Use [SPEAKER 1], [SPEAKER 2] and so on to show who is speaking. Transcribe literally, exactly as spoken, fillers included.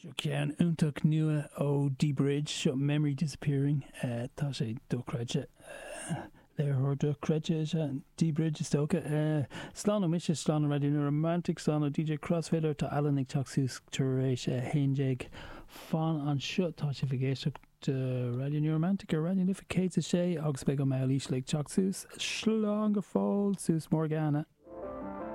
[SPEAKER 1] Seo ceann iontach nua ó D-Bridge seo Memory Disappearing uh, tá sé dochreidte uh, léiritheoir dochreidte is ea D-Bridge is dócha uh, Slán ó mise slán Radio New Romantic slán ó DJ Crossfader tá Alan ag teacht suas tar éis a haon déag fan anseo tá sibh ag éisteacht Radio New Romantic ar Raidió na Life céad a sé agus beidh an meall ísle ag teacht suas slán go fóill suas Morgana.